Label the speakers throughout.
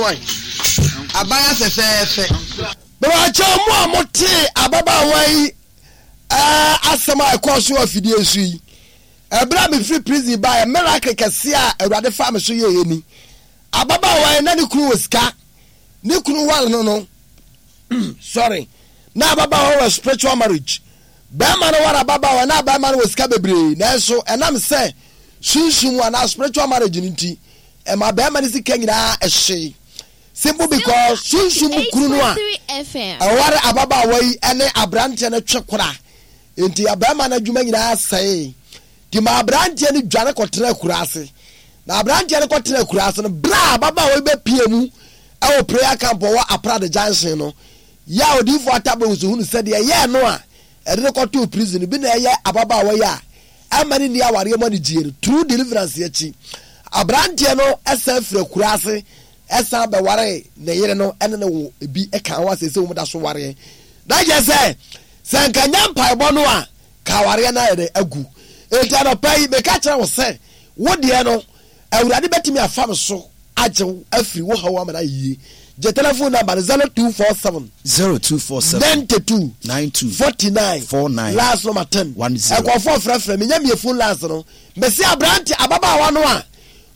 Speaker 1: wae. Abaya fɛfɛɛfɛ.
Speaker 2: Mepakyɛw mo a motee ababaawa yi eh, asɛm a ɛkɔɔ so wɔ afidie so yi, ɛberɛ a mefiri prison baeɛ, miracle kɛseɛ a Awurade faa me so yɛeɛ ni. Ababaawa yi na ne kunu wɔ sika, ne kunu ware no no, sorry, na ababaawa wɔ spiritual marriage. Bɛrima no ware ababaawa na bɛrima no wɔ sika bebree, nanso ɛnam sɛ sunsum mu anaa spiritual marriage no nti, ɛma bɛrima no sika nyinaa ɛhyee. Simple because sunsum mu kunu no a ɛware ababaawa yi ne aberanteɛ no twe kora nti abɛrima no adwuma nyinaa sɛee. Nti ma aberanteɛ no dwane kɔtena akuraase. Na aberanteɛ no kɔtena akuraase no, berɛ a ababaawa yi bɛpie mu ɛwɔ prayer camp ɔwɔ Aprade junction no, yɛ a odiyifoɔ Atabowusu hunu sɛ deɛ ɛyɛɛ no a ɛde no kɔtoo prison no bi na ɛyɛ ababaawa yi a ɛmma no nni awareɛ mu anigyeɛ no. True deliverance akyi, aberanteɛ no san firi akuraase san bɛwaree ne yere no ne no wo bi ka ho a seesei wɔn da so wareɛ. Na kyerɛ sɛ, sɛ nka nyɛ mpaebɔ no a, ka awareɛ no ayɛ dɛ agu. Enti anɔpa yi, meka kyerɛ wo sɛ, wo deɛ no, Awurade bɛtumi afa me so agye wo afiri wo haw ama no ayɛ yie. Gye telephone number no 0247
Speaker 3: 0247
Speaker 2: 92
Speaker 3: 92
Speaker 2: 49
Speaker 3: 49
Speaker 2: last number 10.
Speaker 3: 10.
Speaker 2: Nkurɔfoɔ frɛfrɛ me, nya mie phone lines no. Mese aberante ababaawa no a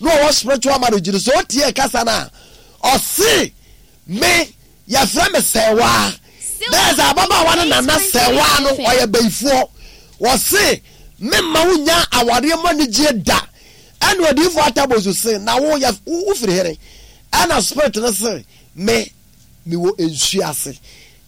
Speaker 2: na ɔwɔ spiritual marriage no, sɛ ɔtie kasa no a, ɔse me yɛfrɛ me sɛwaa. Na yɛ sɛ ababaawa no nana sɛwaa no ɔyɛ bayifoɔ. Ɔse memma wo nya awareɛ mu anigyeɛ da. Ɛna odiyifoɔ Atabozu se na wo yɛ wo firi hene? Ɛna spirit no se me mewɔ nsuo ase.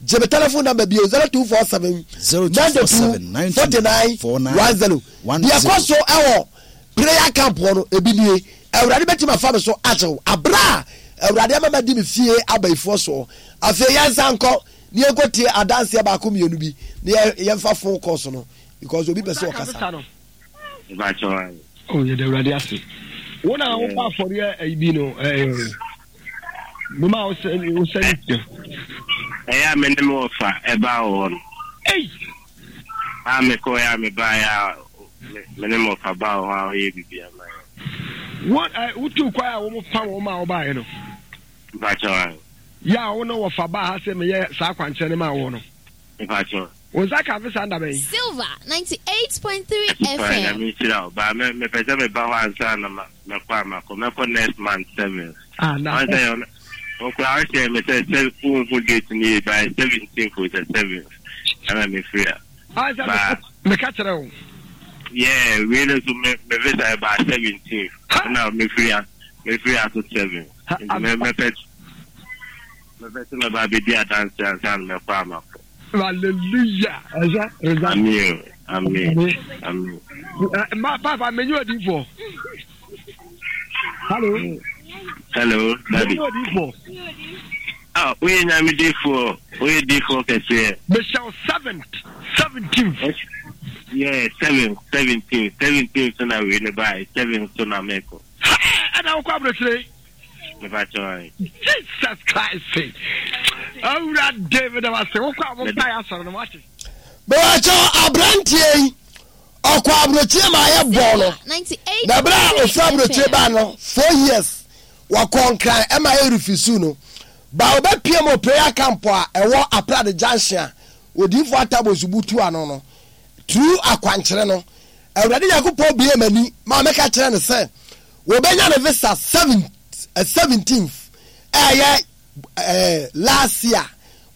Speaker 2: Gye me telephone number bio 0247 92 49 10. Deɛ ɛkɔ so ɛwɔ prayer camp hɔ no ebi nie. Awurade bɛtumi afa me so agye wo aberɛ a Awurade ama madi me fie abayifoɔ soɔ. Afei yɛnsan nkɔ na yɛnkɔtie adanseɛ baako mmienu bi na yɛmfa phone calls no because obi pɛ sɛ ɔkasa.
Speaker 4: Oh, yɛda Awurade ase. Wo na wobɔ afɔreɛ ayi bi no ɛɛ mema wo sɛ wo sɛ ne sika.
Speaker 5: Ɛyɛ a me ne me wɔfa ɛbaa wɔ hɔ no.
Speaker 4: Ei!
Speaker 5: A mekɔɛ a mebaeɛ a me ne me wɔfa baa wɔ hɔ a ɔyɛ biribi ama yɛn.
Speaker 4: Wo ɛ wotu kwan a wɔn fa wɔn ma wɔbaeɛ no.
Speaker 5: Mpakyɛw ae.
Speaker 4: Yɛ a wo ne wɔfa baa ha sɛ meyɛ saa akwankyerɛ no maa wɔn no.
Speaker 5: Mpakyɛw.
Speaker 4: Wo nsa ka visa nda bɛn?
Speaker 6: Silver 98.3
Speaker 5: Paa
Speaker 6: FM.
Speaker 5: Nyame nhyira wo. Ba me mepɛ sɛ meba hɔ ansa na ma mɛkɔ a makɔ. Mɛkɔ next month seventh.
Speaker 4: Ah na.
Speaker 5: Ɔn sɛ yɛ wo koraa wohyɛɛ me sɛ sɛ wonhu date no yie by seventeenth o sɛ seventh ɛna mefiri a.
Speaker 4: Ah sɛ
Speaker 5: Ba
Speaker 4: meka kyerɛ wo.
Speaker 5: Yeah wei no nso me me visa ɛbaa seventeenth ɛna mefiri a mefiri aso seventh. Nti mɛ mɛpɛ mɛpɛ sɛ mɛba abɛdi adanse ansa na mɛkɔ a makɔ.
Speaker 4: Hallelujah. Ɛsɛ result.
Speaker 5: Amen. Amen. Amen.
Speaker 4: Ma papa menyi odiifoɔ. Hello.
Speaker 5: Hello, daddy.
Speaker 4: Menyi odiifoɔ.
Speaker 5: Ah, woyɛ nyame diifoɔ. Woyɛ diifoɔ kɛseɛ.
Speaker 4: Mehyɛ wo seventh, seventeenth.
Speaker 5: Yeah, seventh, seventeenth, seventeenth so na wei ne bae, seventh so na mekɔ.
Speaker 4: Ɛna wokɔ aburokyire. Jesus Christ. Awurade meda wase wokɔ a wɔpa yɛ asɔre no wate.
Speaker 2: Bɛwakyɛ aberanteɛ yi ɔkɔ aburokyire ma ayɛ bɔɔ no na berɛ a ɔfiri aburokyire baa no 4 years wakɔ Nkran ɛma ayɛ refisu no ba ɔbɛpie mu prayer camp a ɛwɔ Aprade junction a odiyifoɔ Atabo Nsubu tu ano no through akwankyerɛ no Awurade Nyankopɔn bue m'ani ma mɛka kyerɛ no sɛ wɔbɛnya ne visa 17th ɛyɛ last year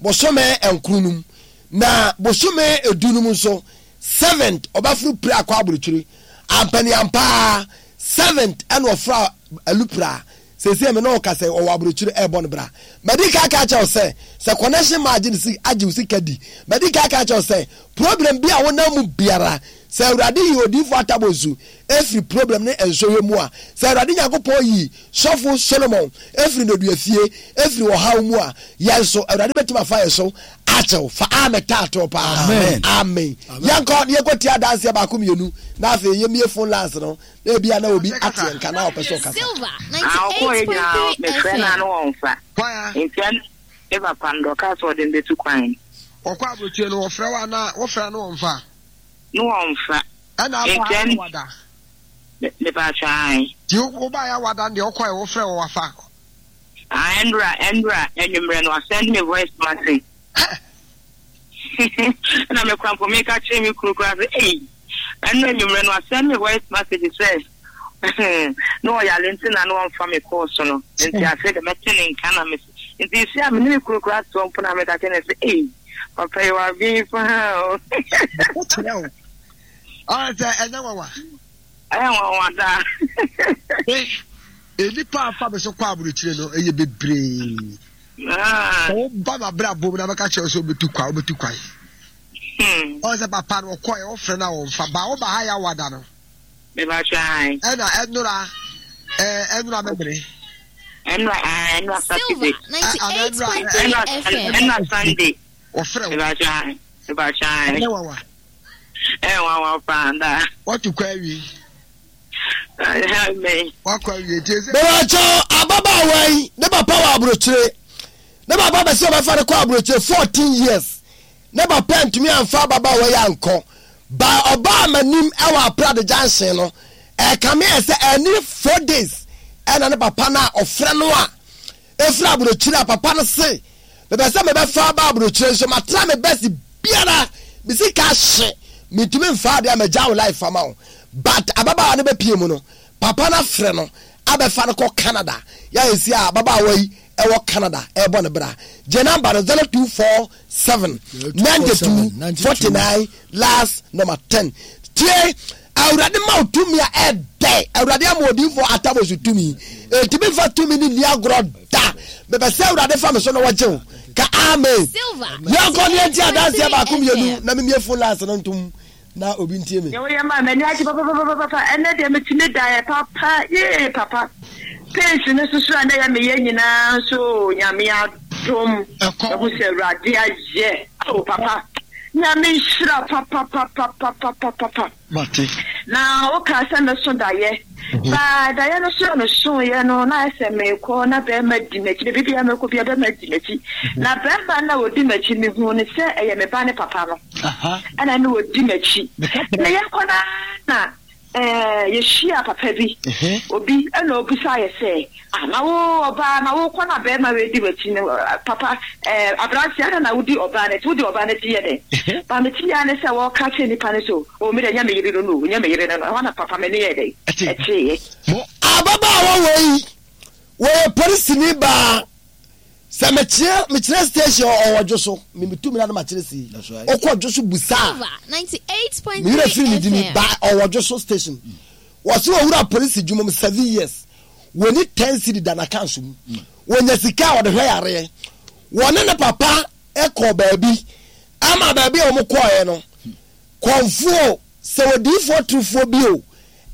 Speaker 2: bosome nkron no mu na bosome edu no mu nso 7th ɔbɛforo pira akɔ aburokyire ampaniampaa 7th ɛna ɔforo alupra sese mi na ɔka sɛ ɔwɔ aburokyire ɛbɔ no bra. Mɛdi ka aka kyerɛw sɛ sɛ connection ma agye ne si agye wo sika di. Mɛdi ka aka kyerɛw sɛ problem bi a wonam mu biara, sɛ Awurade yi odiifo Atabonsu efiri problem ne nsɔhwɛ mu a, sɛ Awurade Nyankopɔn yi sɔfo Solomon efiri nneduafie efiri ɔhaw mu a, yɛn nso Awurade bɛtumi afa yɛn so akyɛw. Fa amen taatoɔ paa.
Speaker 3: Amen.
Speaker 2: Amen. Yɛnkɔ na yɛnkɔ tie adanseɛ baako mmienu na afei yɛmmie phone lines no na ebia na obi ate yɛn nka na ɔpɛ sɛ ɔkasa.
Speaker 6: Silver
Speaker 7: Ah, ɔkɔɔ yɛ nyinaa
Speaker 6: 98.3
Speaker 7: mefrɛ no a
Speaker 6: FM.
Speaker 7: na ɔmfa.
Speaker 1: Kwan a.
Speaker 7: Nti ɛn me papa no deɛ ɔkaa sɛ ɔde me bɛtu kwan.
Speaker 1: Ɔkɔ aburokyire no wɔfrɛ wo anaa wofrɛ a na ɔmfa?
Speaker 7: Na ɔmfa.
Speaker 1: Ɛna aba
Speaker 7: Nti
Speaker 1: ha
Speaker 7: ɛn
Speaker 1: na wada?
Speaker 7: me mepaatwɔ ae.
Speaker 1: Nti wo baeɛ a wada no deɛ ɔkɔɛ wofrɛ wɔ wafa?
Speaker 7: Ah, ɛnora, ɛnora, anwummerɛ no, wasɛnde me voice message. Ɛna me kora mpo meka kyerɛ me kunu koraa sɛ, ei, ɛnora anwummerɛ no, wasɛnde me voice message sɛ, na ɔyare nti na na ɔmfa me kɔɔ so no. Nti afei de mɛte ne nka na me nti si a me ne me kunu koraa te hɔ mpo na meka kyerɛ no sɛ, ei, papa yi waben paa o.
Speaker 1: Kyerɛ wo. Ɔyɛ sɛ ɛnyɛ nwanwa.
Speaker 7: Ɛyɛ nwanwa daa.
Speaker 1: Nnipa a fa me so kɔ aburokyire no ɛyɛ bebree.
Speaker 7: Ah.
Speaker 1: Sɛ woba m'abrabɔ mu na bɛka kyerɛ sɛ wobɛtu kwan wobɛtu kwan. Ɔyɛ sɛ papa no ɔkɔɛ wofrɛ no a wɔmfa ba woba ha yɛ awada no. Ɛna ɛnora ɛnora mɛmere.
Speaker 7: Ɛnora ɛnora Saturday.
Speaker 6: Silver 98.3 FM.
Speaker 7: Ɛnora Sunday.
Speaker 1: Wɔfrɛ wo.
Speaker 7: Ɛnyɛ
Speaker 1: nwanwa.
Speaker 7: Ɛyɛ nwanwa paa daa.
Speaker 1: Watu kwan awie. Wakɔ awie nti ɛsɛ.
Speaker 2: Mebakyɛw ababaawa yi ne papa wɔ aburokyire ne papa bɛ sɛ ɔbɛfa no kɔ aburokyire 14 years ne papa ntumi amfa ababaawa yi ankɔ ba ɔbaa m'anim ɛwɔ aprade junction no ɛkame ɛ sɛ ɛni 4 days ɛna ne papa no a ɔfrɛ no a Ɛfiri aburokyire a papa no se mepɛ sɛ mebɛfa aba aburokyire nso matra me best biara me sika ahye mentumi mfa adeɛ a magya wo life ama wo but ababaawa no bɛpie mu no papa no afrɛ no abɛfa no kɔ Canada yɛ a ɛsi a ababaawa yi ɛwɔ Canada ɛrebɔ ne bra gye namba no 0247 92 49 last number 10 tie Awurade ma wo tumi a ɛdɛ. Awurade ama odiyifoɔ Atabos tumi. Enti memfa tumi no nni agorɔ da. Mepɛ sɛ Awurade fa me so na wɔgye wo. Ka amen. Yɛnkɔ ne yɛntie adanseɛ baako mmienu na memie phone lines no ntom na obi ntie me.
Speaker 7: Deɛ woyɛ maa m'ani agye papapapapa ɛnɛ deɛ metumi daeɛ papa yee papa pains no soso a na ɛyɛ meyɛ nyinaa nso nyame adom ɛho sɛ awurade ayɛ oh papa Nyame nhyira papapapapapapa.
Speaker 1: Mate.
Speaker 7: Na wokaa sɛ mɛso dayɛ. Baa dayɛ no so a mesoeɛ no na ayɛ sɛ meekɔ na bɛrima di m'akyi baabi biara mɛkɔ biara bɛrima di m'akyi. Na bɛrima no a ɔdi m'akyi mehuu no sɛ ɛyɛ me ba ne papa no ɛna ne ɔdi m'akyi. Na yɛkɔ no ara na Ɛɛ, yɛhyiaa papa bi, obi, ɛna ɔbisaa yɛ sɛ, Ah, na wo ɔbaa, na wokɔ na barima wei di w'akyi no, papa, ɛɛ, aberanteɛ, adɛn na wodi ɔbaa no akyi? Wodi ɔbaa no akyi yɛ dɛn? Ba mete ara ne sɛ wɔreka kyerɛ nnipa no sɛ, Oh, me deɛ, ɛnyɛ me yere no no o, ɛnyɛ me yere no no. Ɛhɔ na papa m'ani yɛɛ dɛn? Ɛteeɛ.
Speaker 2: Ababaawa wei, wɔyɛ polisini baa. Sɛ mekyerɛ mekyerɛ station ɔwɔ dwo so me metu mi na ma kyerɛ si ɔkɔ dwo so busa me werɛ firi ne dini ba ɔwɔ dwo so station wɔsi owura polisi dwuma mu 7 years wɔni 10 cedi da n'akan so mu wɔnya sika a wɔde hwɛ yareɛ wɔne ne papa kɔ baabi ama baabi a wɔn kɔɔɛ no kɔnfuo sɛ odiifoɔ turufoɔ bi o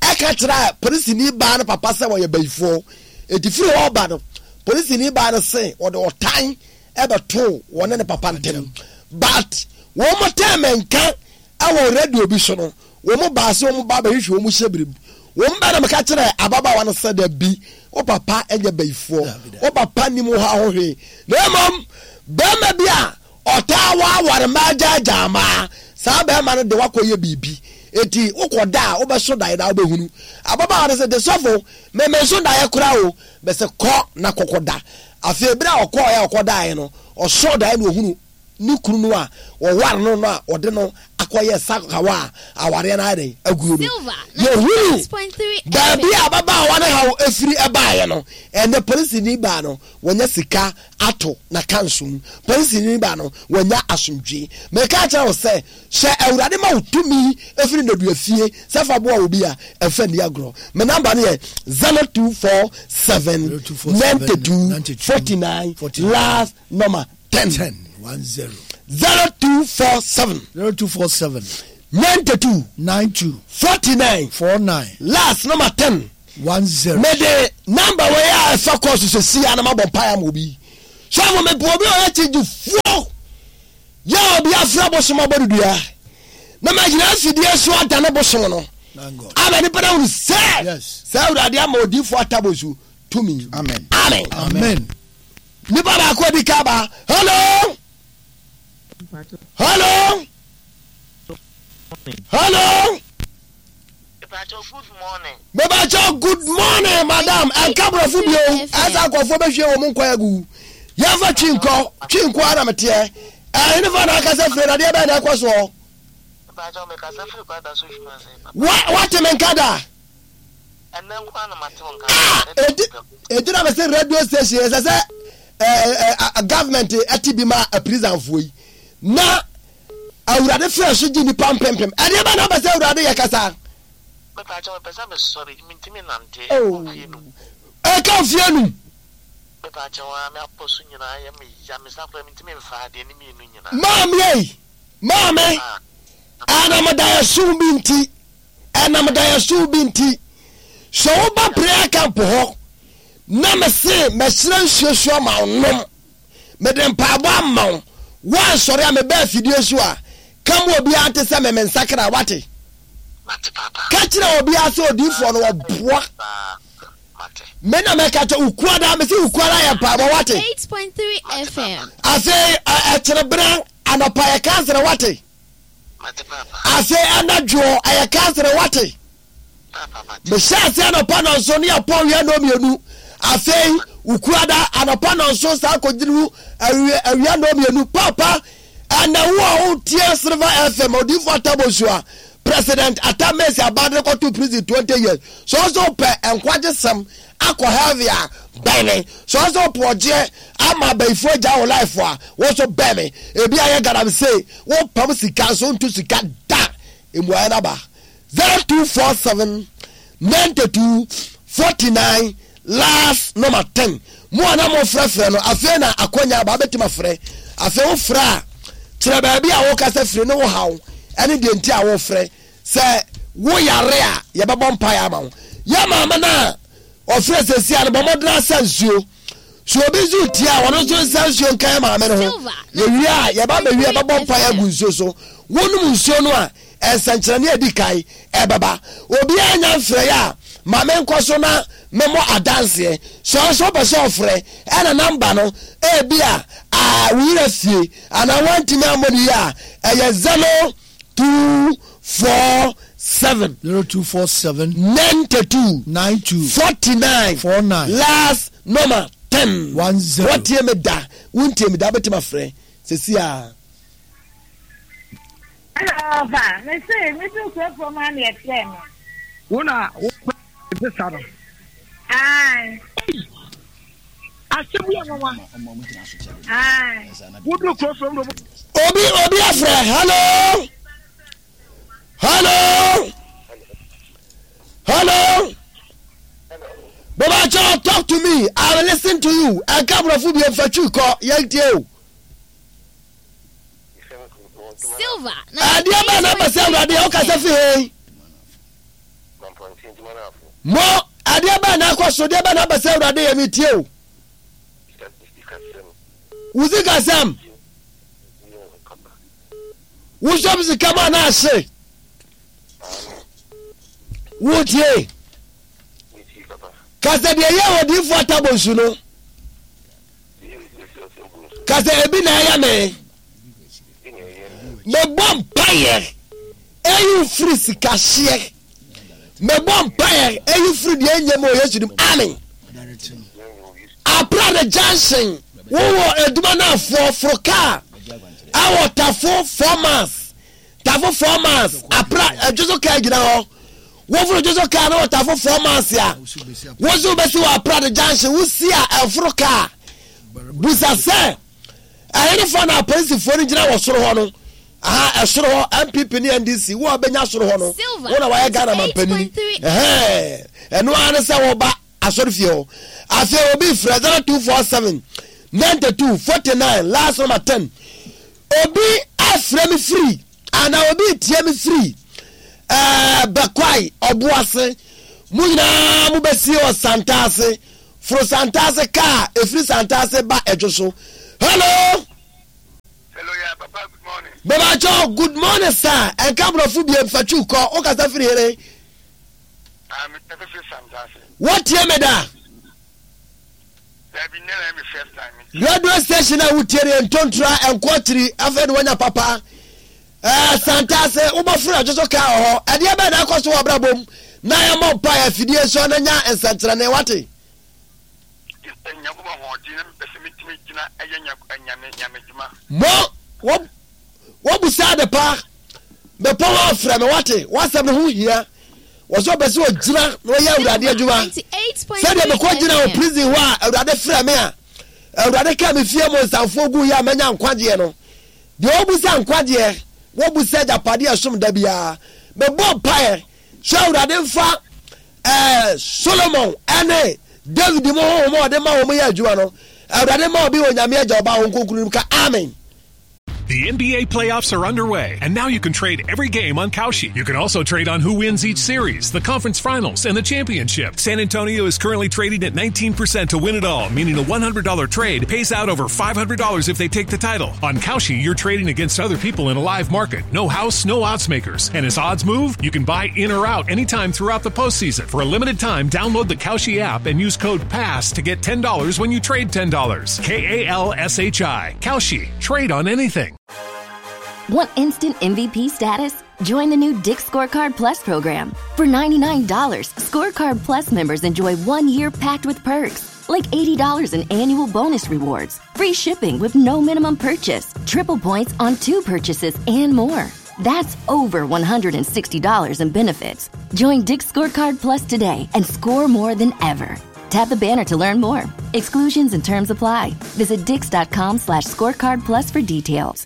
Speaker 2: ɛka kyerɛ polisini baa no papa sɛ wɔyɛ bayifoɔ. Enti firi hɔ ba no, polisini baa no se wɔde ɔtan ɛbɛtoo wɔne ne papa ntem. But wɔn tɛɛ me nka ɛwɔ radio bi so no, wɔn baa se wɔn ba bɛhwehwɛ wɔn hyɛbere mu. Wɔn bɛ na meka kyerɛ ababaawa no sɛ dabi, wo papa nyɛ bayifoɔ, wo papa nim wo ha ho hwee. Na mmom bɛrima bi a Ɔtaa waaware mmaa gyaagyaa mmaa. Saa barima no de wo akɔyɛ biribi. Enti wokɔda a, wobɛso daeɛ na wobɛhunu. Ababaawa no se, De sɔfo, me menso daeɛ koraa o. Mese, Kɔ na kɔkɔda. Afei berɛ a ɔkɔeɛ a ɔkɔdaeɛ no, ɔsoo daeɛ na ɔhunu ne kunu no a wɔware no no a ɔde no akɔyɛ sakawa a awareɛ no ayɛ dɛn aguo no. Yɛhunu baabi a ababaawa no haw firi baeɛ no, ɛnnɛ polisini baa no, wanya sika ato n'akanso mu. Polisini ba no, wanya asomdwoe. Meka akyerɛ wo sɛ, sɛ Awurade ma wo tumi firi nnadua fie sɛ fa boa obi a, ɛmfa nni agorɔ. Me namba no yɛ 0247 92 49 last number 10. 0247
Speaker 4: 0247
Speaker 2: 92
Speaker 4: 92
Speaker 2: 49
Speaker 4: 49
Speaker 2: last number 10.
Speaker 4: 10.
Speaker 2: Mede number wei a ɛfa kɔɔ so sɛsi a na mabɔ mpaeɛ ama obi. Sɔfo mepɛ obi a ɔyɛ kyegyefoɔ yɛ a obi afra bosom abɔ no dua na magyina afidie so adane bosom no ama nipa no ahunu sɛ sɛ Awurade ama odiyifoɔ Atabosu tumi.
Speaker 1: Amen.
Speaker 2: Amen.
Speaker 4: Amen.
Speaker 2: Nipa baako adi ka ba. Hello. Hello. Hello. Mebakyɛw good morning madam ɛnka borɔfo bio ɛsɛ nkurɔfoɔ bɛhwie wɔn nkwa agu yɛmfa twi nkɔ twi nko ara na meteɛ ɛhene fa na akasa firi na deɛ bɛn na ɛkɔ soɔ wate me nka da ɛdi na mese radio station ɛsɛ sɛ government ɛte bi ma prisonfoɔ yi na Awurade frɛ so gye nnipa mpempem. Ɛdeɛ bɛn na wopɛ sɛ Awurade yɛ kasa?
Speaker 3: Mepa kyɛw mepɛ sɛ mesɔre mentumi nante ɛkɔ mfie num.
Speaker 2: Ɛka mfie num.
Speaker 3: Mepa kyɛw aa me apɔ so nyinaa yɛ me ya me nsa koraa mentumi nfa adeɛ ne mienu nyinaa.
Speaker 2: Maame ei maame ɛnam daeɛso bi nti ɛnam daeɛso bi nti sɛ woba prayer camp hɔ na mese mɛsrɛ nsuo so ama wo nom. Mede mpaebɔ ama wo. Woansɔre a meba afidie so a, ka ma obiara nte sɛ me mensakra, woate? Ka kyerɛ obiara sɛ odiyifoɔ no ɔboa. Me na mɛka kyɛ Ukuada, mese Ukuada yɛ mpaebɔ, woate? Afei ɛkyerebena anɔpa yɛ kansere, woate? Afei anadwoɔ ɛyɛ kansere, woate? Mehyɛ ase anɔpa nɔnson ne yɛpɔn wia nnɔnmienu. Afei Wukuada anɔpa nɔnson saa kɔduru awia awia nnɔnmienu. Papa, ɛnɛ wo a wotie Silver FM, Odiyifo Atta Bonsua, President Atta Mills aba de kɔto prison 20 years. Sɛ ɔsɛ wopɛ nkwagye sɛm akɔ heaven a, bɛn me. Sɛ ɔsɛ wopɛ ɔgyeɛ ama abayifoɔ agya wo life a, wo nso bɛn me. Ebi ayɛ galamsey, wopam sika nso wontu sika da. Mmuaeɛ no aba. 0247 92 49 last number 10 mo a na mofrɛfrɛ no afei na akwanya aba wobɛtumi afrɛ afei wofrɛ a kyerɛ baabi a wokasa firi ne wo haw ɛne deɛ nti a wofrɛ sɛ woyare a yɛbɛbɔ mpaeɛ ama wo yɛ maame no a ɔfrɛ sɛsi a no bɔ mmɔdena asa nsuo so obi nso tie a ɔno nso nsa nsuo nka yɛ maame no ho yɛwie a yɛba bɛwie a bɛbɔ mpaeɛ agu nsuo so wonom nsuo no a Nsɛnkyerɛnne a edi kan ɛbɛba. Obiara nya mfrɛeɛ a, ma menkɔ so na memmɔ adanseɛ. Sɛ wo nso wopɛ sɛ ɔfrɛ, ɛna namba no, ebia a wo werɛ afie anaa woantumi ammɔ no yie a, ɛyɛ 0247.
Speaker 8: 0247.
Speaker 2: 92.
Speaker 8: 92.
Speaker 2: 49.
Speaker 8: 49.
Speaker 2: Last number 10.
Speaker 8: 10.
Speaker 2: Woatie me da, wontie me da, wobɛtumi afrɛ sɛsi a.
Speaker 9: Ɛna ɔba, mese, meduu kurofuo mu a na yɛfrɛɛ me.
Speaker 4: Wo na wo pɛ visa no.
Speaker 9: Ae.
Speaker 4: Ei, asɛm yi yɛ nwanwa.
Speaker 9: Ae.
Speaker 4: Woduru kurofuo mu na
Speaker 2: Obi obi afrɛ hello hello hello bɛbɛkyɛ talk to me I will listen to you ɛnka aborɔfo bi mfa twi kɔ yɛntie o. Adeɛ bɛn na ɛbɛ sɛ Awurade a wokasa fi he? Mo, adeɛ bɛn na akɔ so, deɛ bɛn na ɛbɛ sɛ Awurade yɛ metie o. Wo sikasɛm, wosɔm sika mu anaa ahye? Wotie? Ka sɛ deɛ ɛyɛ odiyifoɔ atabonsu no. Ka sɛ ebi na ɛyɛ me. Mebɔ mpaeɛ ɛyi wo firi sikahyeɛ. Mebɔ mpaeɛ ɛyi firi deɛ ɛnyɛ mu wɔ Yesu dim. Amen. Aprade junction wowɔ adwuma no afoɔ foro kaa ɛwɔ tafo 4 miles Tafo 4 miles apra ɛdwoso kaa gyina hɔ woforo dwoso kaa na wɔ tafo 4 miles a wosi wobɛsi wɔ apra de junction wosi a ɛforo kaa busa sɛ ɛhenefoɔ na apolisifoɔ no gyina wɔ soro hɔ no aha ɛsoro hɔ npp ne ndc wo a wobɛnya soro hɔ no wo na wayɛ ghana mampanini ɛhɛn ɛno ara ne sɛ wɔba asɔrefie hɔ. Afei obi frɛ 0247 92 49 last number 10. Obi afrɛ me firi anaa obi retie me firi ɛɛ Bɛkwae Ɔboase. Mo nyinaa mobɛsie wɔ Santase. Foro Santase kaa ɛfiri Santase ba Ɛdwo so. Hello.
Speaker 10: Hello, yeah, Papa, good morning.
Speaker 2: Baba Joe, good morning, sir. Ɛnka borɔfo bie mfatwi kɔ. Wokasa firi here. Wotie me da? Radio station a wotie no yɛ ntontura ɛnkɔ akyiri afei de woanya papa. Ɛɛ Santase, wobɛforo adwo so kaa wɔ hɔ. Ɛdeɛ bɛn na akɔ so wɔ abrabɔ mu na yɛmmɔ mpaeɛ afidie so na nya nsɛnkyerɛnne wate? Mo, wo, wobusa ade pa. Mepɔ ho afrɛ me wate, w'asɛm no ho hia. Wɔ sɛ ɔpɛ sɛ ɔgyina na ɔyɛ Awurade adwuma. Sɛdeɛ mekɔ gyina wɔ prison hɔ a Awurade frɛ me a, Awurade ka me fie mu nsamfoɔ gu yɛ a manya nkwagyeɛ no. Deɛ ɔbusa nkwagyeɛ, wɔbusa agyapadeɛ a ɛsom da biara. Mebɔ mpaeɛ sɛ Awurade mfa eh, Solomon ɛne David mu honhom a ɔde ma wɔn yɛ adwuma no. Awurade ma obi wɔ Nyame Agya Ɔba Honhom Kronkron mu ka amen.
Speaker 8: The NBA playoffs are underway, and now you can trade every game on Kalshi. You can also trade on who wins each series, the conference finals, and the championship. San Antonio is currently trading at 19% to win it all, meaning a $100 trade pays out over $500 if they take the title. On Kalshi, you're trading against other people in a live market. No house, no odds makers. And as odds move, you can buy in or out anytime throughout the postseason. For a limited time, download the Kalshi app and use code PASS to get $10 when you trade $10. K A L S H I. Kalshi. Trade on anything.
Speaker 11: Want instant MVP status? Join the new Dick Scorecard Plus program. For $99, Scorecard Plus members enjoy one year packed with perks, like $80 in annual bonus rewards, free shipping with no minimum purchase, triple points on two purchases, and more. That's over $160 in benefits. Join Dick Scorecard Plus today and score more than ever. Tap the banner to learn more. Exclusions and terms apply. Visit dix.com slash scorecard plus for details.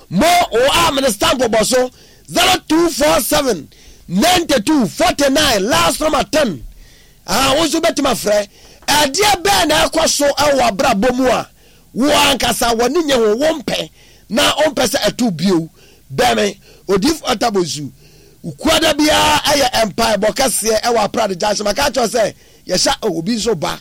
Speaker 2: Mo o a mene stamp bɔ so 0247 92 49 last number 10 ah wo nso bɛtumi afrɛ ɛdeɛ bɛn na ɛkɔ so ɛwɔ abrabɔ mu a wo ankasa w'ani nye ho wompɛ na wompɛ sɛ ɛto bio bɛn me odifo atabonsu Kuada biara yɛ mpaebɔ kɛseɛ wɔ Aprade Junction. Maka akyerɛ wo sɛ yɛhyɛ oh, obi nso ba.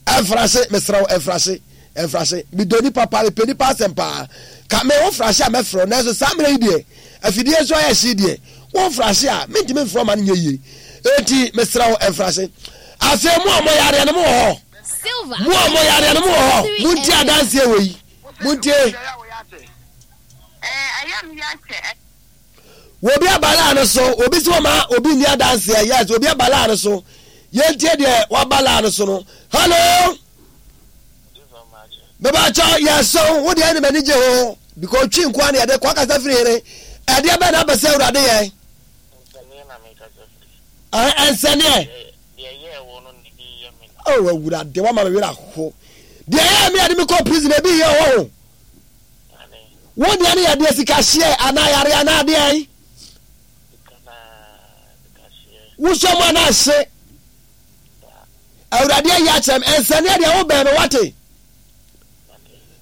Speaker 2: Ɛmfrahye, mesrɛ wo, ɛmfrahye, ɛmfrahye. Medɔ nipa paa, mepɛ nipa asɛm paa. Ka me wo frahye a mɛfrɛ wo, nanso saa mmerɛ yi deɛ, afidie nso ayɛ hye deɛ, wo mfrahye a, mentumi mfrɛ wo ma no nyɛ yie. Enti mesrɛ wo, ɛmfrahye. Afei mo a moyareɛ no, mowɔ hɔ? Mo a moyareɛ no, mowɔ hɔ? Montie adanseɛ wei. Montie. Obi aba laa no so, obi sɛ ɔma obi nni adanseɛ. Yes, obi aba laa no so. Yɛntie deɛ waba laa no so no. Hello. Mebakyɛ yɛsɛw wo deɛ ne m'ani gye ho because twi nkoa ne yɛde kɔ akasa firi hene. Ɛdeɛ bɛn na apɛ sɛ awurade yɛ? Ɛnsɛneɛ. Oh awurade wama me werɛ aho. Deɛ ɛyɛ me ade me kɔ prison ebi yɛ wɔ ho. Wo deɛ no yɛ deɛ sika hyeɛ anaa yare anaa deɛn? Wosɔ mu anaa hye? Awurade ayi akyerɛ me ɛnsɛneɛ deɛ wobɛn me wate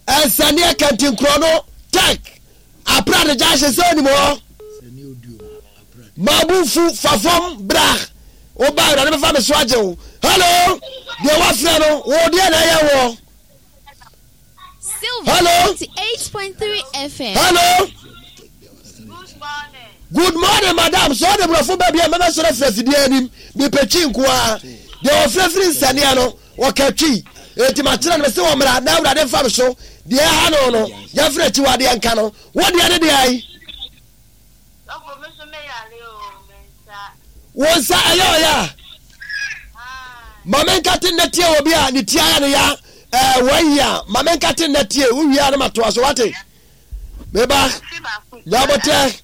Speaker 2: ɛnsɛneɛ kantinkorɔ no tɛk aprade gya hye sɛ onim hɔ mabufu fa fam bra woba awurade bɛfa me so agye wo hello deɛ wafrɛ no wo deɛ na ɛyɛ woɔ
Speaker 6: Silver
Speaker 2: Hello.
Speaker 6: 98.3 FM.
Speaker 2: Hello. Good morning, madam. So the brofo ba bia mɛbɛ sɔrɔ fira fidie anim. Mepɛ twi nko ara. Deɛ ɔfrɛ firi nsania no, ɔka twi. Enti makyerɛ no mese wɔ mmra na awurade mfa me so. Deɛ ɛha no no, yɛmfrɛ akyiwadeɛ nka no. Wo deɛ ne deɛ ayi. Wo nsa ɛyɛ ɔyɛ a. Ma menka te nnɛ tie obi a ne ti ayɛ no ya ɛɛ wɔayi a ma menka te nnɛ tie wowie a na matoa so wate meba nyabotrɛ.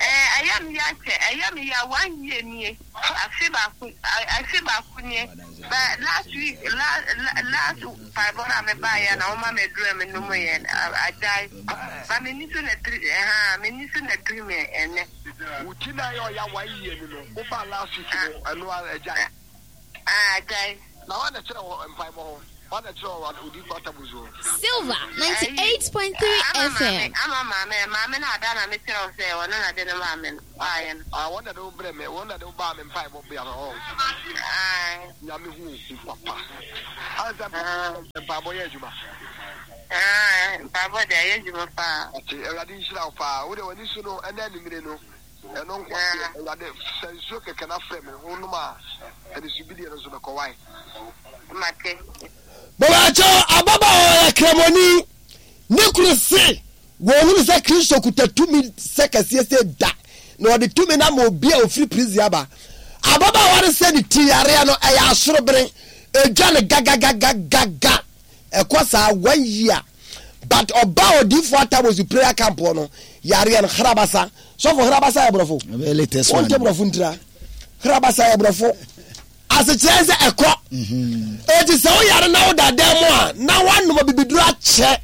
Speaker 7: Ɛyɛ me ya kyɛ, ɛyɛ me ya one year nie, afe baako, afe baako nie. But last week, last, last mpaebɔ no a mebaeɛ na wɔma me aduru a menomeeɛ no, agyae. Ba m'ani so na piri, ɛha, m'ani so na piri me ɛnɛ.
Speaker 1: Wo ti na ɛyɛ ɔya one year ni no, wobaa last week no, ɛno ara agyae.
Speaker 7: Ah, agyae.
Speaker 1: Na wọn na kyerɛ wɔ mpaebɔ ho? Wọn na kyerɛ wɔ odiyifo Atabus ho?
Speaker 6: Silver 98.3 FM.
Speaker 7: Ama maame, maame no ada na mekyerɛ wo sɛ ɔno na de no maa me no, waayɛ no.
Speaker 1: Ah, wɔn na de wo brɛ me, wɔn na de wo baa me mpaebɔ bea no, ɔɔ.
Speaker 7: Ae.
Speaker 1: Nyame hu wo papa. Ansa mpaebɔ yɛ adwuma.
Speaker 7: Ae, mpaebɔ deɛ ɛyɛ adwuma paa.
Speaker 1: Ate, Awurade nhyira wo paa. Wo deɛ w'ani so no, ɛnɛ anwummere no, Ɛno nko deɛ, Awurade, sɛ nsuo kɛkɛ na frɛ me, wonom a, anisobideɛ no nso bɛkɔ. Wae?
Speaker 7: Mate.
Speaker 2: Mebakyɛw, ababaawa ɔyɛ kramoni. kunu se wɔhunu sɛ Kristo kuta tumi sɛ kɛseɛ sɛ da, na ɔde tumi no ama obi a ɔfiri prison aba. Ababaawa no sɛ ne ti yareɛ no ɛyɛ asorobene, ɛdwa no gagagagagaga. Ɛkɔ saa one year. But ɔbaa odiifoɔ Atabozu prayer camp hɔ no, yareɛ no hrabasa. Sɔfo hrabasa yɛ borɔfo? Wonte borɔfo ntira. Hrabasa yɛ borɔfo. Asekyerɛ ne sɛ ɛkɔ. Enti sɛ woyare na woda dan mu a, na woanom abibiduro akyɛ,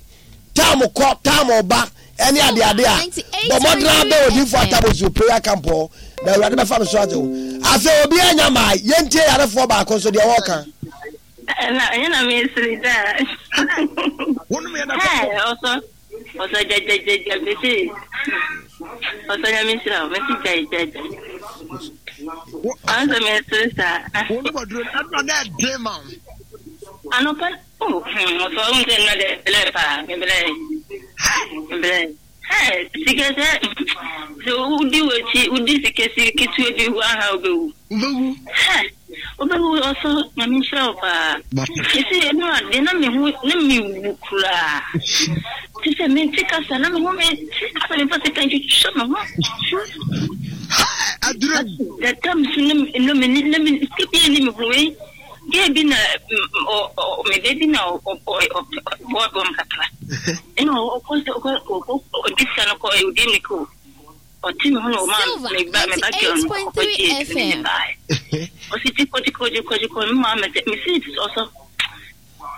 Speaker 2: tam kɔ, tam ba, ɛne adeade a, bɔ mmɔden ara bɛn Odiyifo Atabozuo prayer camp hɔ, na Awurade bɛfa me so agye wo. Afei obiara nya mmae, yɛntie yarefoɔ baako nso deɛ ɔreka.
Speaker 12: Ɛna ɛnyɛ na mesere daa.
Speaker 1: Wonom yɛ na
Speaker 12: kɔkɔ. Ɔsɔ ɔsɔ gyagyagyaga mese ɔsɔ nyame nhyira wo mese gyae gyae gyae. Ɔsɔ mesere saa.
Speaker 1: Wonom aduro no ɛna na ɛden ma wo.
Speaker 12: Anɔpa oh hmm ɔsɔ wohu sɛ nnɛ de blɛ paa meblɛ meblɛ. Hey, sika sɛ sɛ wodi w'akyi wodi sika si ketewa bi wu aha wobɛwu.
Speaker 1: Wobɛwu.
Speaker 12: Hey, wobɛwu ɔsɔ nyame nhyira wo paa. Ɛsɛ ɛno ade na me ho na mewu koraa. Te sɛ mente kasa na me ho mente kasa memfa sika ntwitwa me ho.
Speaker 1: Aduro.
Speaker 12: That time so na me na me sika bi ni me ho wei. Girl bi na me ba bi na ɔboa bɔm kakra. Ɛna ɔkɔ sɛ ɔkɔ ɔkɔ ɔde sika no kɔ ɔde ne kɔ ɔte me ho na ɔma me ba me ba girl no ɔkɔ gye edu ne ba ɔsi ti kɔ ti kɔ ti kɔ ti kɔ me maa me sɛ me si ɔsɔ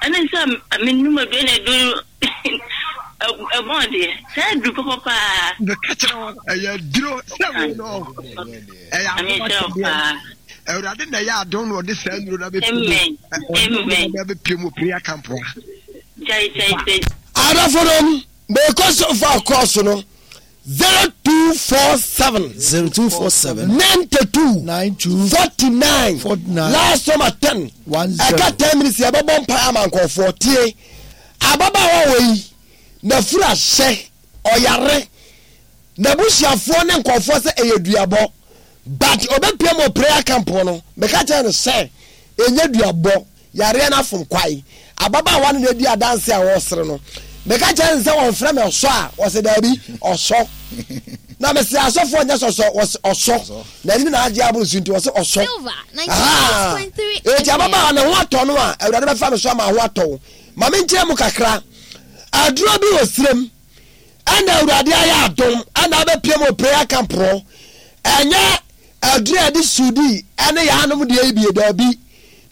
Speaker 12: ɛne sɛ me num edu na edu ɛbɔn deɛ sɛ edu pɔpɔ paa.
Speaker 1: Meka kyerɛ wɔn ɛyɛ duro sɛ wei no ɛyɛ adom akyɛdeɛ awurade na ɛyɛ adom na ɔde saa nnuro no abɛpie mu prayer camp ha.
Speaker 2: Adɔfo nom mekɔ so fa kɔɔso no 0247
Speaker 13: 0247
Speaker 2: 92
Speaker 13: 92
Speaker 2: 49
Speaker 13: 49
Speaker 2: last number 10 ɛka 10 minutes yɛbɛbɔ mpae ama nkɔɔfoɔ tie ababaawa wɔ yi nafura hyɛ ɔyare N'abusuafoɔ ne nkurɔfoɔ sɛ ɛyɛ duabɔ but ɔbɛpia mu wɔ prayer camp hɔ no meka kyerɛ no sɛ ɛnyɛ duabɔ yareɛ no afom kwae ababaawa no na ɛdi adanse a ɔresere no meka kyerɛ no sɛ wɔmfrɛ me ɔsɔ a ɔsɛ daabi ɔsɔ na mese asɔfoɔ nyɛ sɔsɔ wɔsɛ ɔsɔ na ɛne na agye aboro so nti wɔsɛ ɔsɔ eti ababaawa ne ho atɔ no a awurade bɛfa me so ama ho atɔ wo ma menkyerɛ mu kakra aduro bi wɔ sirem Ɛna awurade ayɛ adom ɛna abɛpiem wɔ prayer camp hɔ ɛnyɛ aduru a yɛde sudi ɛne yɛanom deɛ yi bie daabi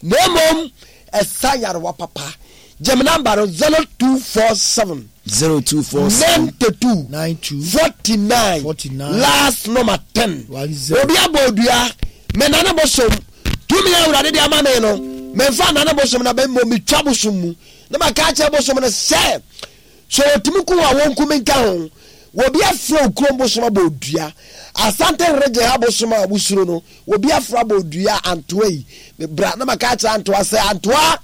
Speaker 2: na mmom ɛsa yarewa papa gye me namba no 0247
Speaker 13: 0247
Speaker 2: 92
Speaker 13: 92
Speaker 2: 49
Speaker 13: 49
Speaker 2: last number 10
Speaker 13: 10.
Speaker 2: obi abɔ odua me nane bosom tumi a awurade de ama me no memfa nane bosom na bɛmmɔ metwa bosom mu na maka akyerɛ bosom no sɛ Sɛ wɔtumi ku wo a, wɔnku me nka ho. Obi afrɛ wo kurom bosom abɔ wo dua. Asante region ha bosom a wosuro no, obi afrɛ abɔ wo dua Antoa yi. Bra na maka akyerɛ Antoa sɛ, Antoa,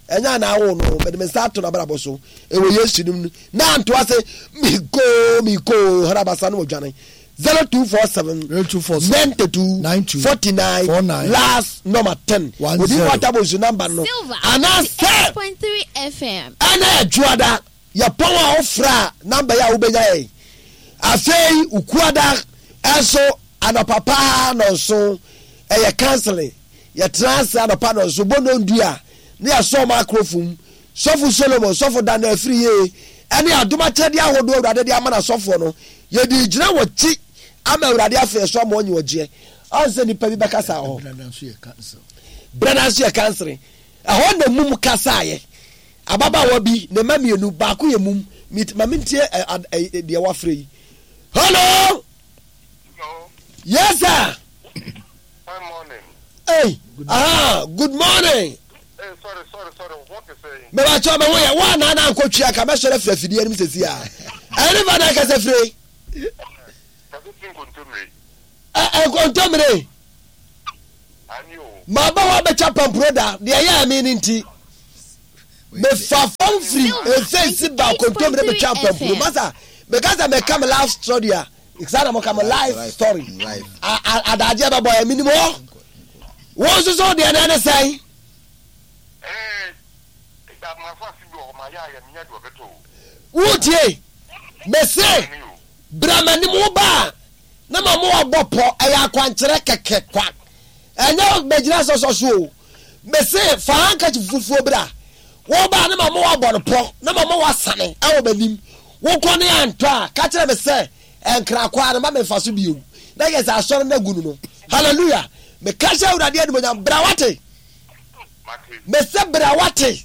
Speaker 2: ɛnyɛ a na awo no, mede me nsa ato n'abrabɔ so. Ɛwɔ Yesu nim no. Na Antoa sɛ, mekoo, mekoo, harabasa na wɔdwane. 0247
Speaker 13: 0247
Speaker 2: 92 49
Speaker 13: 49
Speaker 2: last number 10.
Speaker 13: 10.
Speaker 2: Obi wɔ atabosu number no.
Speaker 6: Silver
Speaker 2: Anaasɛ
Speaker 6: 98.3 FM.
Speaker 2: Ɛna Ɛdwoada yɛpɔn a wofrɛ a number yi a wobɛnya yɛn. Afei Ukuada nso anɔpa paa nɔnso ɛyɛ counseling. Yɛtena ase anɔpa nɔnso bɔ nɔndu a na yɛasɔ microphone mu. Sɔfo Solomon, Sɔfo Daniel Afriyie ɛne adom akyɛdeɛ ahodoɔ Awurade de ama n'asɔfoɔ no yɛde gyina wɔ kyi ama Awurade afei so ama ɔnye ɔgyeɛ. Ɔn sɛ nipa bi bɛkasa wɔ hɔ. Brada nso yɛ counseling. Ɛhɔ na mum kasaeɛ. Ababaawa bi, ne mma mmienu, baako yɛ mum. Mit, ma mentie ɛ, ad, ɛ, deɛ wafrɛ yi. Hello!
Speaker 10: Hello.
Speaker 2: Yes, sir.
Speaker 10: Good morning.
Speaker 2: Hey, aha, good morning.
Speaker 10: Hey, sorry, sorry, sorry. What is saying?
Speaker 2: Meba kyɛw me ho yɛ. Wo anaa na ankɔ twi aka mɛsɔre afiri afidie anim sɛsi a. Ɛne fa na akasa fire.
Speaker 10: Kasa fi nkontomire.
Speaker 2: Ɛ nkontomire. Maba hɔ abɛtwa pampuro da, deɛ ɛyɛɛ me no nti. Mefa fam firi efeesi ba kontomire bɛtwa pampuro. Masa, meka sɛ meka me life story a, saa na moka me life story. Adagyeɛ bɛbɔ yɛ, menim hɔ. Wo nso so deɛ na ɛne sɛn? Wotie? Mese, bra m'anim wo ba a, na ma mo abɔ pɔ, ɛyɛ akwankyerɛ kɛkɛ kwa. Ɛnyɛ bɛgyina sɔsɔ so o. Mese, fa handkerchief fufuo bra. Wo ba a, na ma mo abɔ no pɔ, na ma mo wasane ɛwɔ m'anim. Wokɔ ne antɔ a, ka kyerɛ me sɛ, ɛnkra kwaa no ma me mfa so bio. Na yɛ sɛ asɔre no agu no no. Hallelujah. Meka hyɛ Awurade animonyam, bra wate. Mese bra wate.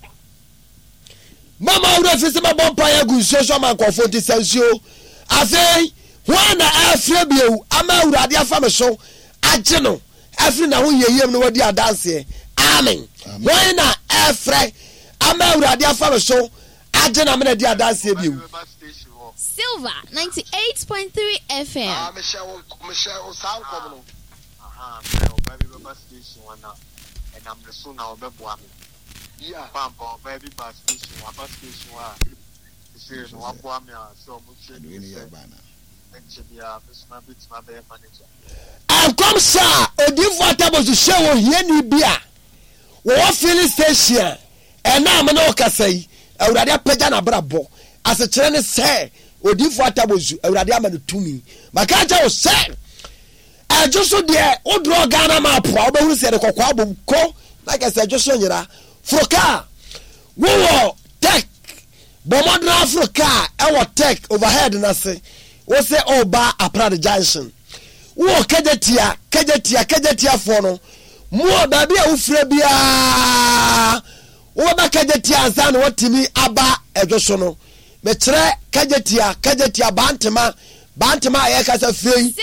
Speaker 2: Mama wo werɛ fi sɛ mɛbɔ mpaeɛ agu nsuo so ama nkurɔfoɔ nti sɛ nsuo. Afei, hwan na ɛrefrɛ bio ama Awurade afa me so agye no afiri n'ahohiahiam na wadi adanseɛ? Amen. Hwan na ɛrefrɛ ama Awurade afa me so agye no amena adi adanseɛ bio?
Speaker 6: Silver 98.3 FM.
Speaker 1: Ah, mehyɛ wo, mehyɛ wo saa nkɔm no.
Speaker 3: Aha, sɛ ɔbaa bi bɛba station hɔ na ɛnam ne so na ɔbɛboa me.
Speaker 1: Yeah.
Speaker 3: Pampa ɔbaa bi ba station waba station hɔ a sesei no waboa me a sɛ ɔmo kyerɛ me sɛ ɛnkyɛ biara me nso mabɛtumi abɛyɛ manager.
Speaker 2: Nkɔmhyɛ a Odiyifo Atabosu hyɛɛ wɔ ohiani bi a wɔwɔ filling station a ɛnnɛ a me ne wo kasa yi, Awurade apagya n'abrabɔ. Asekyerɛ ne sɛ, Odiyifo Atabosu, Awurade ama no tumi. Maka akyerɛ wo sɛ, Ɛdwo so deɛ wo draw Ghana map a wobɛhunu sɛ yɛde kɔkɔɔ abom ko na kɛ sɛ ɛdwo so nyera. Foro kaa wowɔ tech bɔ mmɔden aforo kaa ɛwɔ tech overhead no ase wo sɛ ɔba Aprade junction wowɔ Kagyatia Kagyatia Kagyatiafoɔ no mo a baabi a wofira biara wobɛba Kagyatia ansa na watumi aba ɛdwo so no Mekyerɛ Kagyatia, Kagyatia, Bantema, Bantema a yɛkasa fire yi.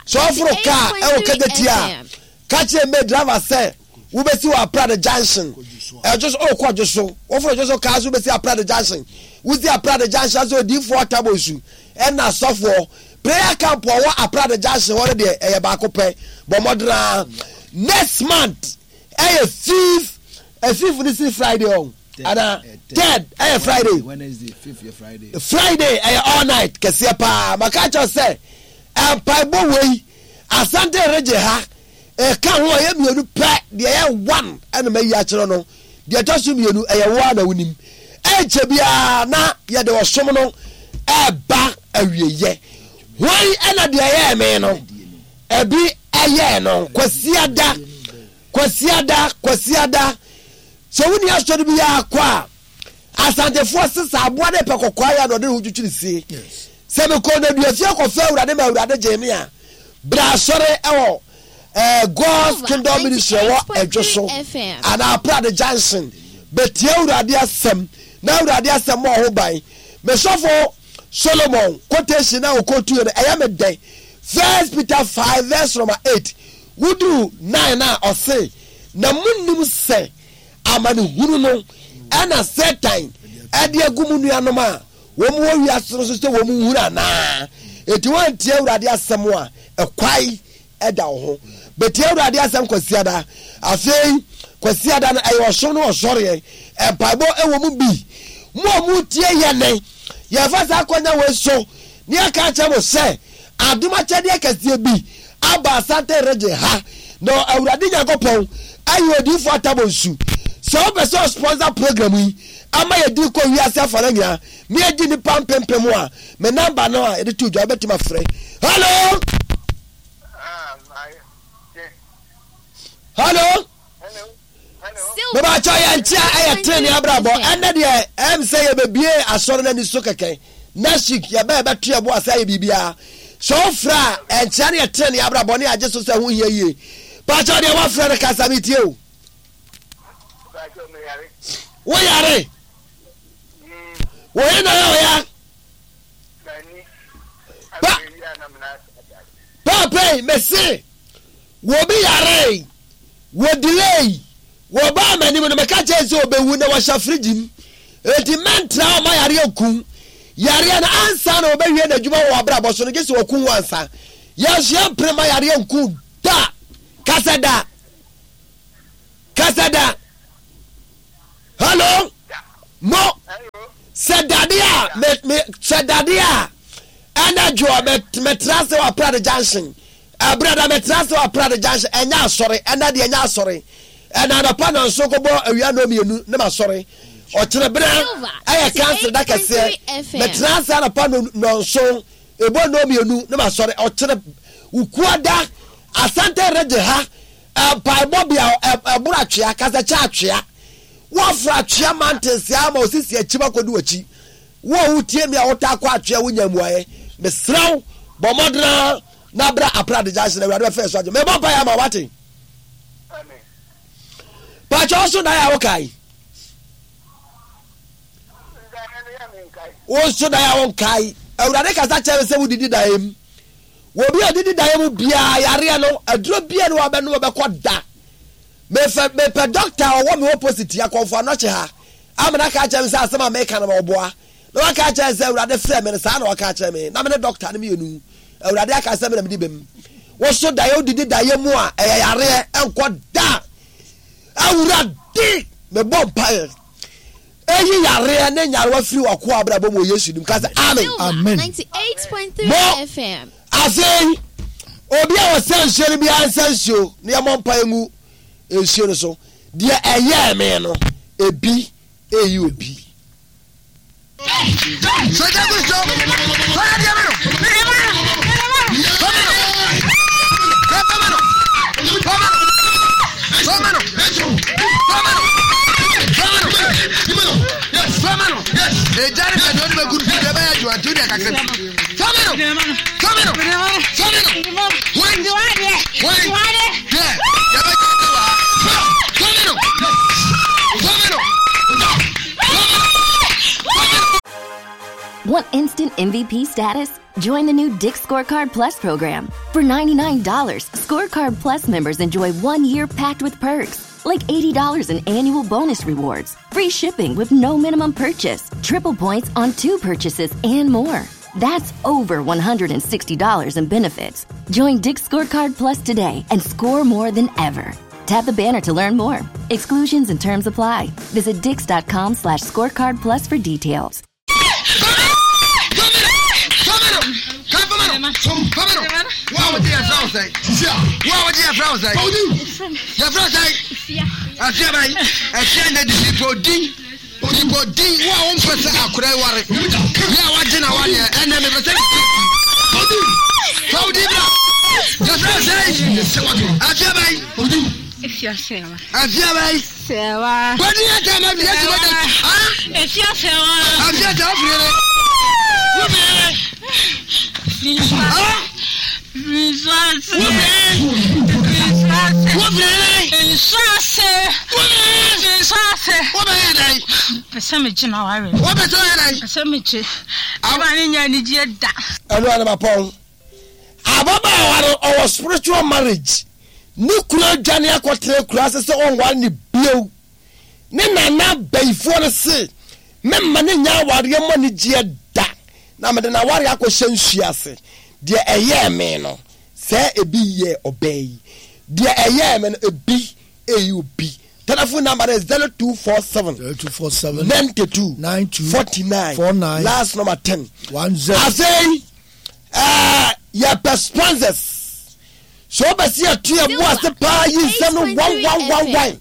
Speaker 2: Sɛ ɔforo kaa ɛwɔ Kagyatia a, ka kyerɛ me driver sɛ wobɛsi wɔ Aprade junction. Ɛdwo so, ɔkɔ dwo so. Woforo dwo so kaa so wobɛsi Aprade junction. Wosi Aprade junction sɛ odiifoɔ Atabosu ɛna asɔfoɔ. Prayer camp ɔwɔ Aprade junction hɔ no deɛ ɛyɛ baako pɛ. Bɔ mmɔden Next month ɛyɛ fifth, fifth ne si Friday ɔn. ana third ɛyɛ friday friday ɛyɛ all night kɛseɛ paa maka kyerɛ sɛ mpaebɔ wei asante regye ha ɛka ho ɛyɛ mmienu pɛ deɛ ɛyɛ one ɛna mayi akyerɛ no deɛ ɛtɔ so mmienu ɛyɛ wo a na wonim ɛnkyɛ biara na yɛde ɔsom no ɛba awieyɛ hwan ɛna deɛ ɛyɛɛ me no ɛbi ɛyɛɛ no kwasiada kwasiada kwasiada Sɛ wonni asɔre biara kɔ a, Asantefoɔ se sɛ aboa no pɛ kɔkɔɔ ayɛ a na ɔde ne ho twitwiri sie. Sɛ mekɔɔ nnaduafie kɔfrɛ Awurade ma Awurade gyee me a, berɛ asɔre wɔ eh, God's Kingdom Ministry ɛwɔ Ɛdwo so anaa Aprade Junction bɛtie Awurade asɛm na Awurade asɛm mɔ ho ban. Me sɔfo Solomon quotation a ɔkɔtuiɛ no ɛyɛ me dɛ. First Peter 5 verse number 8 woduru 9 a ɔse Na monnim sɛ amanehunu no na Satan de agu mo nuanom a wɔn wɔ wiase no so sɛ wɔn nhunu anaa? Enti woantie Awurade asɛm a, ɛkwae da wo ho. Bɛtie Awurade asɛm Kwasiada. Afei, Kwasiada no, ɛyɛ ɔsom ne ɔsɔreɛ. Mpaebɔ wɔ mu bi. Mo a motie yɛne, yɛfa saa akwanya wei so ne yɛka akyerɛ mo sɛ, Adom akyɛdeɛ kɛseɛ bi aba Asante region ha na Awurade Nyankopɔn ayi odiyifoɔ Atabɔ nsu. Sɛ wopɛ sɛ ɔsponsor program yi ama yɛdi kɔ wiase afana nyinaa na yɛgye nnipa mpempem a, me number no a yɛde to dwa wobɛtumi afrɛ. Hello! Hello! Mebakyɛ yɛn nkyea ɛyɛ tene abrabɔ ɛnɛ deɛ ɛm sɛ yɛbɛbie asɔre no ani so kɛkɛ next week yɛbɛ yɛbɛto yɛbo ase ayɛ biribiara sɛ wofrɛ a ɛnkyea no yɛ tene abrabɔ ne agye so sɛ ho hia yie pakyɛ deɛ woafrɛ no kasa metie o woyare woyɛ na yɛ ɔya paapɛi mese Wɔbi yaree, wɔ delay, wɔbaa m'anim no meka kyerɛ sɛ ɔbɛwu na wɔhyɛ fridge mu. Enti mɛntra hɔ ma yareɛ nku. Yareɛ no ansa na wɔbɛwie n'adwuma wɔ w'abrabɔ so no gye sɛ wɔku wo ansa. Yɛn nso yɛmpere ma yareɛ nku da. Kasa da. Kasa da. Hello? Mo. Sɛ dade a me me sɛ dade a ɛna dwoɔ mɛtra sɛ wɔ Aprade junction. Ɛberɛ da metra ase wɔ Aprade junction, ɛnyɛ asɔre, ɛnɛ deɛ ɛnyɛ asɔre. Ɛna anɔpa nanso kɔbɔ awia nnɔn mmienu ne masɔre. Ɔkyerɛ berɛ ɛyɛ council da kɛseɛ. Mɛtena ase anɔpa nɔnson, ɛbɔ nnɔnmienu na masɔre. Ɔkyerɛ Wukuada, Asante Region ha, mpaebɔ bea ɛboro atwea, kasakyɛ atwea. Woaforo atwea mountains ama osisi akyim akɔdi w'akyi. Wo a wotie me a wotaa kɔ atwea wonya mmuaeɛ. Mesrɛ wo, bɔ mmɔden ara na bra Aprade Junction, Awurade bɛfa yɛn so agye. Mebɔ mpaeɛ ama wo, wate? Pakyɛ wo so dan a wokae? Wo nso dan a wonkae. Awurade kasa kyerɛ me sɛ wodidi daeɛ mu. Obi a ɔdidi daeɛ mu biara yareɛ no, aduro biara ne wabɛnom ɔbɛkɔ da. Mefɛ mepɛ dɔkta a ɔwɔ me opposite akɔmfo anɔkye ha. Amena ka kyerɛ me sɛ asɛm a meka no ɔboa. Na waka akyerɛ sɛ Awurade frɛ me no saa na waka akyerɛ me. Na me ne dɔkta no mmienu. Awurade aka sɛ me na medi bem. Wo so daeɛ wodidi daeɛ mu a ɛyɛ yareɛ ɛnkɔ da. Awurade mebɔ mpaeɛ. Eyi yareɛ ne nyarewa firi w'akoa abrabɔ mu wɔ Yesu dim. Ka sɛ amen.
Speaker 13: Amen.
Speaker 2: Mo afei obi a ɔsɛ nsuo no biara nsa nsuo na yɛmmɔ mpaeɛ ngu nsuo no so. Deɛ ɛyɛɛ me no ebi eyi obi.
Speaker 11: Want instant MVP status? Join the new Dick's Scorecard Plus program. For $99, Scorecard Plus members enjoy one year packed with perks, like $80 in annual bonus rewards, free shipping with no minimum purchase, triple points on two purchases, and more. That's over $160 in benefits. Join Dick's Scorecard Plus today and score more than ever. Tap the banner to learn more. Exclusions and terms apply. Visit dix.com slash scorecard plus for details.
Speaker 1: Onipa din wo a wompɛ sɛ akora yi ware yɛ a wagye na wadeɛ ɛnɛ mepɛ sɛ fa wo din bra yɛfrɛ sɛ afia bɛn afia bɛn bɔdi yɛ tɛ ma yɛ ti bɔdi afia tɛ afiri ne wofiri
Speaker 2: Ɛno ara mapɔn. Ababaawa no ɔwɔ spiritual marriage. Ne kunu adwane akɔtena akuraase sɛ ɔnware ne bio. Ne nana bayifoɔ no se memma no nnya awareɛ mu anigyeɛ da na mede n'awareɛ akɔhyɛ nsuo ase. Deɛ ɛyɛɛ me no, sɛɛ ebi yɛɛ ɔbaa yi. Deɛ ɛyɛɛ me no, ebi ɛyi obi. Telephone number no yɛ 0247
Speaker 13: 0247
Speaker 2: 92
Speaker 13: 92
Speaker 2: 49
Speaker 13: 49
Speaker 2: last number 10.
Speaker 13: 10.
Speaker 2: Afei, ɛɛ, yɛpɛ sponsors. So wopɛ sɛ yɛto yɛn bo ase paa yi nsɛm no one one one one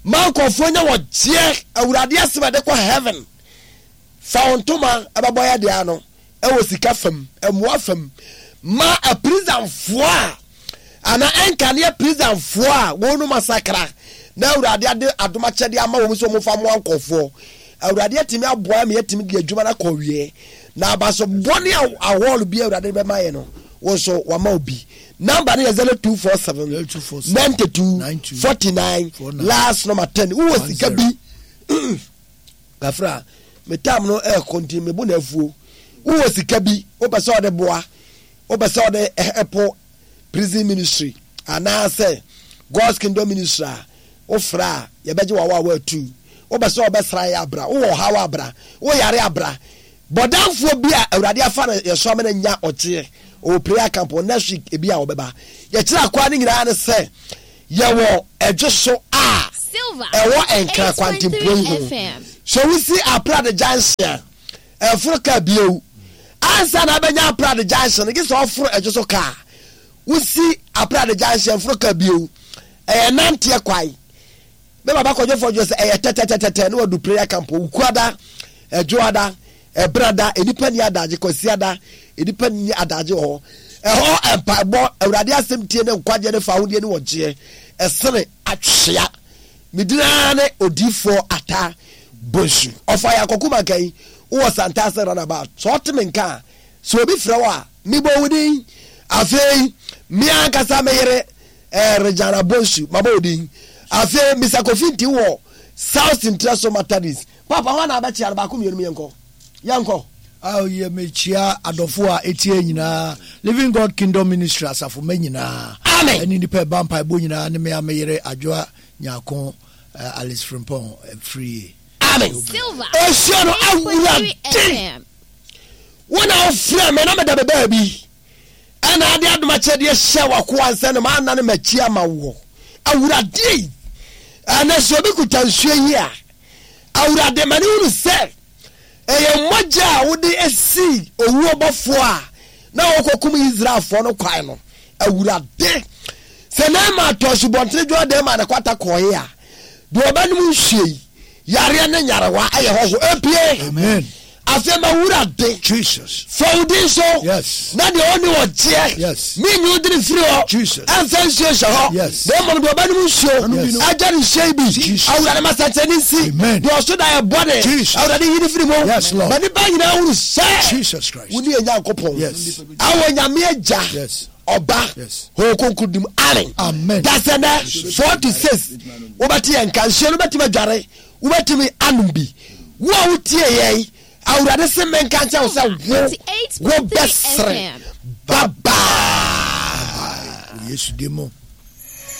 Speaker 2: ma nkurɔfoɔ nya wɔgyeɛ Awurade asɛm a ɛde kɔ heaven? Fa wo ntoma ɛbɛbɔ yɛ deɛ ano ɛwɔ sika fam, mmoa fam ma apirisanfoɔ a anaa ɛnkaneɛ prisonfoɔ a wɔnom asakra na Awurade ade adom akyɛdeɛ ama wɔn sɛ wɔmfa mmoa nkurɔfoɔ. Awurade atumi aboa ma yɛatumi de adwuma no akɔ awie. Na abaso bɔne a ahɔɔlo bi a Awurade de bɛma yɛ no, wo nso wama wo bi. Number no yɛ 0247 92 49 last number 10. Wowɔ sika bi kafra me tam no ɛɛkɔ nti mebo na afuo. Wowɔ sika bi wopɛ sɛ ɔde boa wopɛ sɛ ɔde ɛpo prison ministry anaasɛ God's Kingdom Ministry a wofrɛ a yɛbɛgye wawa a woatu wopɛ sɛ ɔbɛsra yɛ abra wowɔ ɔhaw abra woyare abra Bɔdamfoɔ bi a Awurade afa no yɛ so ama no anya ɔgyeɛ. Ɔwɔ prayer camp wɔ next week ebi a ɔbɛba. Yɛkyerɛ akwaa no nyinaa ne sɛ yɛwɔ ɛdwe so a ɛwɔ Nkran kwantempɔn yi ho. So wosi Aprade junction a, ɛforo kaa bio. Ansa na abɛnya Aprade junction no, gye sɛ ɔforo ɛdwe so kaa. Wosi Aprade junction ɛforo kaa bio. Ɛyɛ nanteɛ kwae. Me baba kɔdwo fɔdwo sɛ ɛyɛ tɛtɛtɛtɛ ne wadu prayer camp Wukuada, Ɛdwoada, Ɛbrada, nnipa ni adagye, Kwasiada, nnipa ni adagye wɔ hɔ. Ɛhɔ mpaebɔ, Awurade asɛm tie ne nkwagyeɛ ne fahodie ne wɔgyeɛ ɛsene atwea. Me din ara ne Odiyifoɔ Atta Bonsu. Ɔfa yɛ akɔko mankan wowɔ Santase runabout. Sɛ ɔte me nka a, sɛ obi frɛ wo a, mebɔ wo din. Afei, me ankasa me yere eh, Regina Bonsu, mabɔ wo din. Afei, Mr. Kofi Nti wɔ South Ntrɛso Methodist. Papa, hɔ na abɛkyea no baako mmienu yɛnkɔ. Yɛnkɔ.
Speaker 4: Ah, yɛ mekyia adɔfo a etie nyinaa Living God Kingdom Ministry asafo mma nyinaa.
Speaker 2: Amen.
Speaker 4: Ɛne nipa ɛba mpaebɔ nyinaa ne me a me yere Adwoa Nyarko eh, Alice Frimpong eh, firi.
Speaker 2: Amen.
Speaker 6: Silver.
Speaker 2: Nsuo no awurade wo na wofrɛ me na meda me baabi ɛna ade adom akyɛdeɛ hyɛ wakoa nsɛ no maana no makyi ama woɔ awurade ɛnɛ sɛ obi kuta nsuo yi a awurade ma ne hunu sɛ Ɛyɛ mogya a wode sii owuo bɔfoɔ a na ɔrekɔkum Israelfoɔ no kwan no. Awurade, sɛ Naaman tɔ asubɔntene Jordan ma ne kwata kɔeɛ a, deɛ ɔbɛnom nsuo yi, yareɛ ne nyarewa ɛyɛ hɔho. Epie!
Speaker 4: Amen.
Speaker 2: Afei ma wurade.
Speaker 4: Jesus.
Speaker 2: Fa wo din so.
Speaker 4: Yes.
Speaker 2: Na deɛ ɔnni ɔgyeɛ.
Speaker 4: Yes.
Speaker 2: Menyi wo dini firi hɔ.
Speaker 4: Jesus.
Speaker 2: Ɛmfa nsuo nhyɛ hɔ.
Speaker 4: Yes.
Speaker 2: Na mmom deɛ ɔbɛnom nsuo.
Speaker 4: Yes.
Speaker 2: Agya ne nsuo yi bi.
Speaker 4: Jesus.
Speaker 2: Awurade ma sɛnkyerɛnne nsi.
Speaker 4: Amen.
Speaker 2: Deɛ ɔso da yɛ bɔne.
Speaker 4: Jesus.
Speaker 2: Awurade yi ne firi mu.
Speaker 4: Yes, Lord.
Speaker 2: Ma nipa nyinaa hunu sɛ.
Speaker 4: Jesus Christ.
Speaker 2: Wo ne yɛn Nyankopɔn.
Speaker 4: Yes.
Speaker 2: Awɔ Nyame Agya.
Speaker 4: Yes.
Speaker 2: Ɔba.
Speaker 4: Yes.
Speaker 2: Honhom Kronkron dim. Amen.
Speaker 4: Amen.
Speaker 2: Dasɛ nɛ 4 to 6 wobɛte yɛn nka nsuo no wobɛtumi adware wobɛtumi anom bi wo a wotie yɛn Awurade se menka nkyerɛ wo sɛ wo wobɛsere. Bye bye.
Speaker 4: Yesu din mu.